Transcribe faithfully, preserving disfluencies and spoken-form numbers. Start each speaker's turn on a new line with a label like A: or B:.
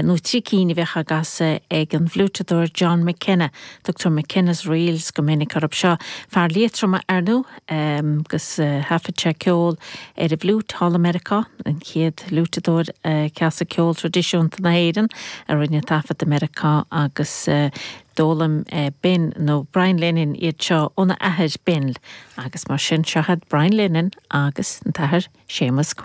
A: nó trí cinn a bheadh á gcasadh ag an bhfliúiteadóir John McKenna, Tugtar McKenna's Reels go minic orthu seo fear Liatroma ar ndóigh agus thaifead sé ceol ar an bhfliúit thall i Meiriceá an chéad fhliúiteadóir casadh ceol traidisiúnta na hÉireann a rinne taifead i Meiriceá agus d'fhoghlaim Bill nó Brian Lennon iad seo óna athair Bill agus mar sin seo Brian Lennon agus an t-athair Séamus Quinn.